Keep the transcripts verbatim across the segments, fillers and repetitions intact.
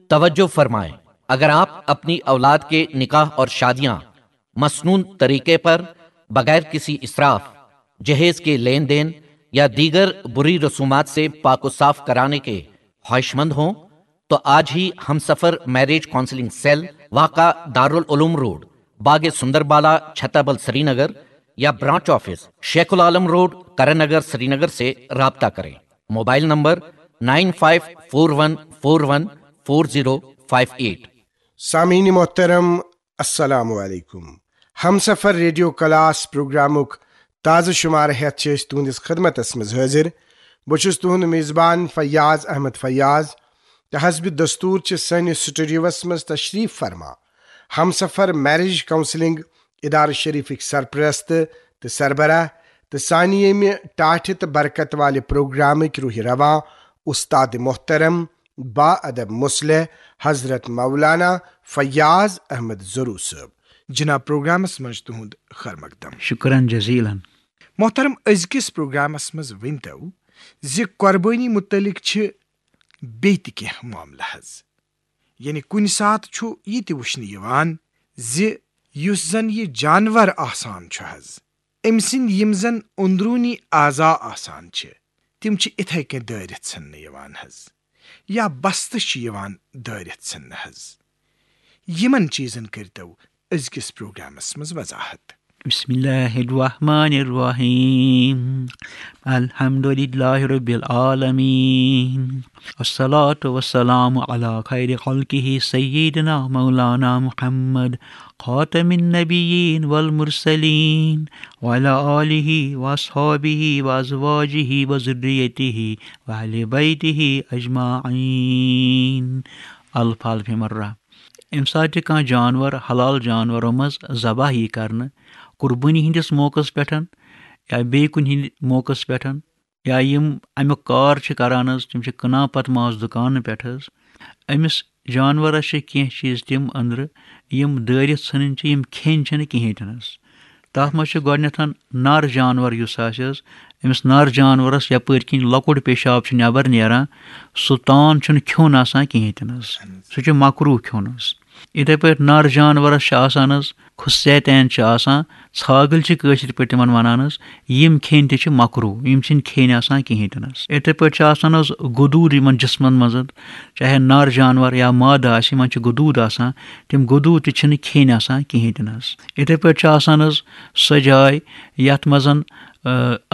توجہ فرمائیں، اگر آپ اپنی اولاد کے نکاح اور شادیاں مسنون طریقے پر، بغیر کسی اسراف، جہیز کے لین دین یا دیگر بری رسومات سے پاک و صاف کرانے کے خواہش مند ہوں تو آج ہی ہم سفر میرج کاؤنسلنگ سیل، واقع دارالعلوم روڈ، باغ سندر بالا، چھتابل، سری نگر یا branch office, Sheikh Ul Alam road, Karan Nagar, Srinagar سے رابطہ کریں۔ Mobile number nine five four one four one four zero five eight. سامعین محترم، السلام علیکم۔ ہمسفر ریڈیو کلاس پروگرامک تازٕ شمارٕ ہیتھ چھِ أسۍ تُہنٛدِس خدمتس منٛز حٲضِر۔ بہٕ چھُس تُہنٛد میزبان فیاض احمد فیاض، تہٕ حسب دستور چھِ سٲنِس سٹوڈیوس منٛز تشریف فرما ہمسفر میرج کاؤنسلنگ ادارٕ شریفٕکۍ سرپرست تہٕ سربراہ تہٕ سانہِ ییٚمہِ ٹاٹھہِ تہٕ برکت والہِ پروگرامٕکۍ روحِ رواں، استاد محترم، با ادب مصلح، حضرت مولانا فیاض احمد زرو صٲب۔ جناب، پروگرامس منٛز تُہُنٛد خیر مقدم۔ شکرن جزیلن۔ محترم، أزکِس پروگرامس منٛز ؤنۍتو زِ قۄربٲنی متعلق چھِ بیٚیہِ تہِ کینٛہہ معاملہٕ حظ۔ یعنی کُنہِ ساتہٕ چھُ یہِ تہِ وٕچھنہٕ یِوان زِ یُس زن یہِ جانور آسان چھُ حظ، أمۍ سٕنٛدۍ یِم زن اندروٗنی اعضا آسان چھِ، تِم چھِ اِتھے کٔنۍ دٲرِتھ ژھٕننہٕ یِوان حظ، یا بستہٕ چھِ یِوان دٲرِتھ ژھٕننہٕ حظ۔ یِمن چیٖزن کٔرۍتو أزکِس پروگرامس منٛز وضاحت۔ بسم الله الرحمن الرحيم. الحمد لله رب العالمين. والصلاة والسلام على خير خلقه سيدنا مولانا محمد خاتم النبيين والمرسلين وعلى آله وأصحابه وأزواجه وذريته وأهل بيته أجمعين. الف الف مرة. ییٚمہِ ساتہٕ تہِ کانٛہہ جانور حلال جانورو منٛز ذبح یی کرنہٕ، قربٲنی ہٕنٛدِس موقعس پٮ۪ٹھ یا بیٚیہِ کُنہِ ہٕنٛدِ موقعس پٮ۪ٹھ، یا یِم اَمیُک کار چھِ کران حظ، تِم چھِ کٕنان پتہٕ ماز دُکانہٕ پٮ۪ٹھ حظ، أمِس جانورس چھِ کینٛہہ چیٖز تِم أنٛدرٕ یِم دٲرِتھ ژھٕنٕنۍ چھِ، یِم کھیٚنۍ چھِنہٕ کِہیٖنۍ تہِ نہٕ حظ۔ تَتھ منٛز چھُ گۄڈٕنٮ۪تھ نر جانور یُس آسہِ حظ، أمِس نر جانورس یپٲرۍ کِنۍ لۄکُٹ پیشاب چھُ نٮ۪بر نیران، سُہ تان چھُنہٕ کھیوٚن آسان کِہیٖنۍ تہِ نہٕ حظ۔ سُہ چھُ مکروہ کھیوٚن حظ۔ یِتھے پٲٹھۍ نر جانورس چھِ آسان حظ، خصیتین چھِ آسان، ژھاگٕلۍ چھِ کٲشِر پٲٹھۍ تِمن ونان حظ، یِم کھیٚنۍ تہِ چھِ مکروہ، یِم چھِنہٕ کھیٚنۍ آسان کِہیٖنۍ تہِ نہٕ حظ۔ یِتھے پٲٹھۍ چھِ آسان حظ گدوٗد یِمن جسمن منٛز حظ، چاہے نر جانور یا مادٕ آسہِ، یِمن چھِ گدوٗد آسان، تِم گدوٗد تہِ چھِنہٕ کھیٚنۍ آسان کِہیٖنۍ تہِ نہٕ حظ۔ یِتھے پٲٹھۍ چھِ آسان حظ سۄ جاے یتھ منٛز، آ،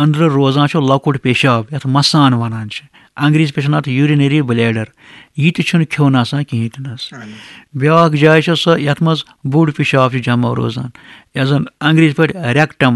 أنٛدرٕ روزان چھُ لۄکُٹ پیشاب، یتھ مسان ونان چھِ، انگریزی پٲٹھۍ چھِ ونان اَتھ urinary bladder، یہِ تہِ چھُنہٕ کھیوٚن آسان کِہیٖنۍ تہِ نہٕ حظ۔ بیٛاکھ جاے چھِ سۄ یتھ منٛز بوٚڑ پیشاب چھُ جمع روزان، یتھ زن انگریزی پٲٹھۍ rectum